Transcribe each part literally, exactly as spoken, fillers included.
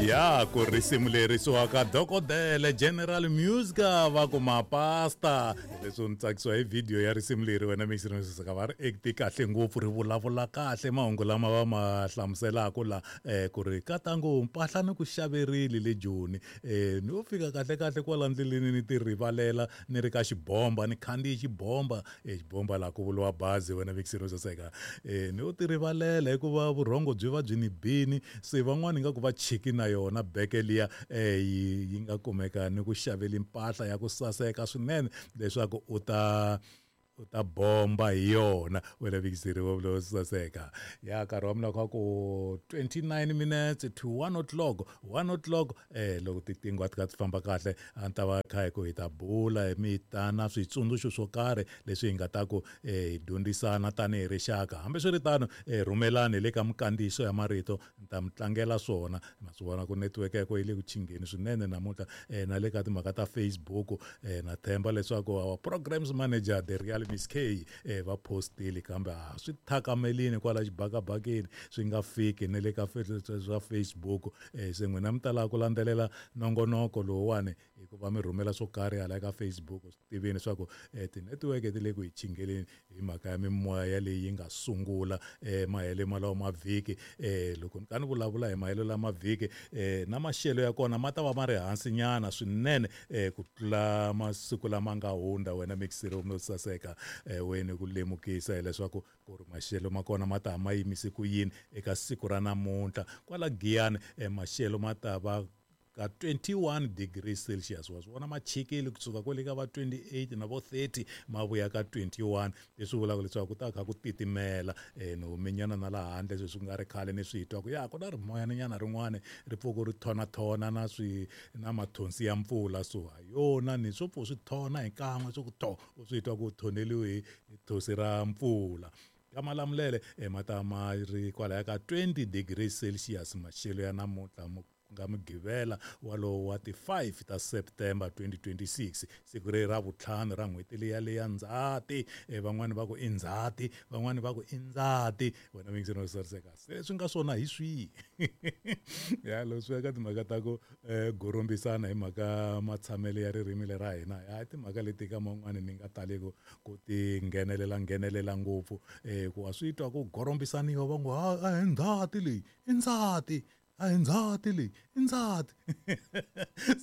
Ya ku risimu leri suwaka dokodela General Musica va ku mapasta. Leswi ni tsakisiwa hi video ya risimu leri wena mixi va ri acti kahle ngopfu, ri vulavula kahle mahungu lama va ma hlamuselaka la eh, ku ri katango mpahla ni ku xaverile le Joni, eh, ni yo fika kahle kahle kwala ndleleni ni ti rivalela ni ri ka xibomba, ni khandziye xibomba, eh, xibomba laha ku vuriwa bazi wena mixi saseka, eh, ni yo ti rivalela hikuva vurhongo byi va byi ni bini, se van'wani nga ku va chiki na yona beke liya eh, yi, yi nga kumeka ni ku xaveli mpahla ya ku saseka swinene leswaku u ta u ta bomba hi yona wena vikiseriwa lo saseka. Ya nkarhi wa mina kha ku twenty-nine minutes to one o'clock, one o'clock eh loko titingo a ti kha ti famba kahle a ni ta va kha hi ku hi ta bula hi mi ta na switsundzuxo swo karhi leswi hi nga ta ku eh, hi dyondzisana tanihi rixaka. Hambiswiritano eh, rhumelani le ka mikandziyiso ya marito ni ta mi tlangela swona. Ma swi vona ku network ya ko yi le ku chingeni swinene namuntlha, eh, na le ka timhaka ta Facebook, eh, na themba leswaku our programs manager the real Miss K eh, va postile kambe a swi thakamelini kwala xibakabakeni swi nga fiki ne le ka swa Facebook. Eh, se n'wina mi talaka ku landzelela nongonoko lowuwani hikuva mi rhumela swo karhi hala ka Facebook, swi tiveni leswaku eh, ti-network ti le ku hi chingeleni hi mhaka ya mimoya yaleyi yi nga sungula eh, mahelo malawo mavhiki. Eh, loko ni ka ni vulavula hi mahelo lama vhiki eh, na maxelo ya kona ma ta va ma ri hansi nyana swinene eh, ku tlula masiku lama nga hundza wena mixiro no saseka. Eh, wena ku lemukisa hileswaku ku ri maxelo ma kona ma ta ma yimise ku yini eka siku ra namuntlha. Kwala Giyani eh, maxelo ma ta va ka twenty-one degrees Celsius, wa swi vona ma chikile kusuka kwale ka va twenty-eight na vo thirty ma vuya ka twenty-one, leswi vulaka leswaku ku ta kha ku titimela. Eh, ni humenyana na laha handle sweswi ku nga ri khale ni swi twa ku ya ku na rimoyana rin'wana ri pfuka ri thonatona na swi na mathonsi ya mpfula, so ha yona ni swo pfu swi thona hi kan'we swo ku tho u swi twa ku thoneliwe hi thosi ra mpfula. Ka Malamulele eh, ma ta ma ri kwalaya ka twenty degrees Celsius maxelo ya namuntlha nga Mugqivela walowo wa ti five ta September twenty twenty-six, siku leri ra vutlhanu ra n'hweti liya leya Ndzhati. Eh, van'wani va ku i Ndzhati, van'wani va ku i Ndzati, wena mingiseni wa sariseka se swi nga swona hi swihi? Ya loko swi ya ka timhaka ta ku eh, gorombisana hi mhaka matshamelo ya ririmi lera hina, ya timhaka leti ka man'wani ni nga tali ku ku ti nghenelela nghenelela ngopfu, eh, ku wa swi twa ku gorombisaniwa va ngo a hi Ndzhati leyi i Ndzhati, a hi Ndzhati leyi i Ndzhati.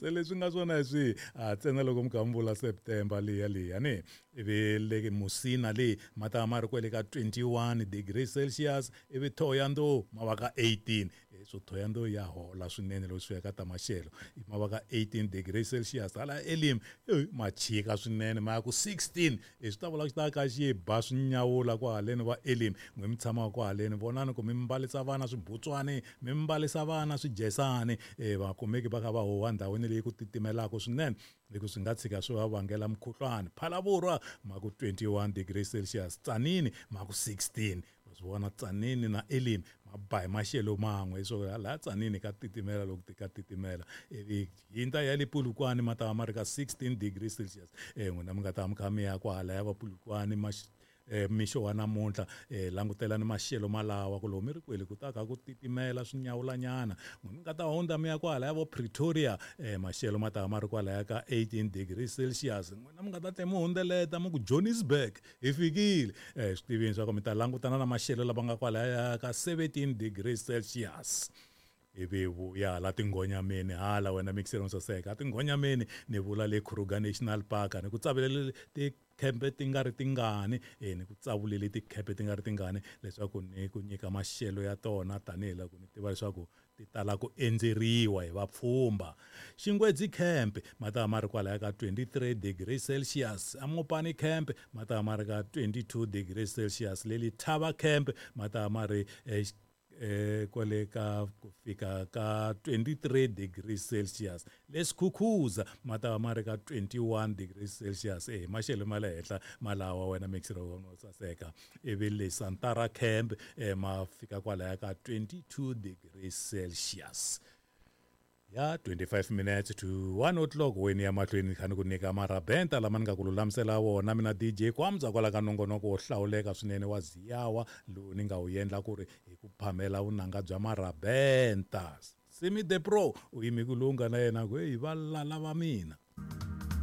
Se leswi nga swona hi swihi? A ntsena loko mi kha mi vula September liya liya ni ivi le Musina leyi ma ta ma ri kwele ka twenty-one degrees Celsius, ivi Thohoyandou ma va ka eighteen. So Thohoyandou ya hola swinene loko swi ya ka ta maxelo, ma va ka eighteen degrees Celsius. Hala Elim ma chika swinene ma ya ku sixteen, swi ta vula ku ta ka xi ba swi nyawula kwahaleni va Elim. N'we mi tshamaka kwahaleni vonani ku mi mbalisa vana swibutswani, mi mbalisa vana swijesani, eh, va kumeki va kha va huwa ndhawini leyi ku titimelaka swinene hi ku swi nga tshika swi va vangela mukhuhlwani. Phalaborwa ma ku twenty-one degrees Celsius, Tzaneen ma ku sixteen. Wa swi vona Tzaneen na Elim ma ba hi maxelo man'we, so laha Tzaneen ka titimela loko ti ka titimela. Ivi hindza ya le Polokwane ma ta va ma ri ka sixteen degrees Celsius. Eh, n'wina mi nga ta mi kha mi ya kwahala ya va Polokwane ma eh, mixo wa namuntlha, eh, langutelani maxelo malawa ku lomu mi ri kwele ku ta kha ku titimela swi nyawulanyana. N'we mi nga ta hundza mi ya kwalaya vo Pretoria, eh, maxelo ma ta va ma ri kwalaya ka eighteen degrees Celsius. N'wina mi nga ta tlhe mi hundzeleta mi ku Johannesburg hi fikile, eh, swi tivini swa ku mi ta langutana na maxelo lama nga kwalaya ka seventeen degrees Celsius. Ivi vuya hala tinghonyameni hala wena mixero saseka tinghonyameni ni vula le Kruger National Park, ni ku tsavelele tikhempe ti nga ri tingani, eh, ni ku tsavulele tikhempe ti nga ri tingani leswaku ni ku nyika maxelo ya tona tanihiloko ni tiva leswaku ti tala ku endzeriwa hi vapfhumba. Xingwedzi camp ma ta ma ri kwalaya ka twenty-three degrees Celsius, Amopani camp ma ta ma ri ka twenty-two degrees Celsius, le Letaba camp ma ta ma ri, eh, eh, kwale ka ku fika ka twenty-three degrees Celsius. Le Skukuza ma ta va ma ri ka twenty-one degrees Celsius, eh, maxelo ma le henhla malawa wena mixero wa saseka. Ivi le Santara camp, eh, ma fika kwalaya ka twenty-two degrees Celsius. Ya twenty-five minutes to one o'clock weni ya mahlweni kha ni ku nyika marabenta lama ni nga ku lulamisela wona mina D J Kwamza kwala ka nongonoko wo hlawuleka swinene wa Ziyawa lowu ni nga wu endla ku ri hi ku phamela vunanga bya marabenta. Simi the Pro u yime ku lungha na yena ku heyi va lala va mina.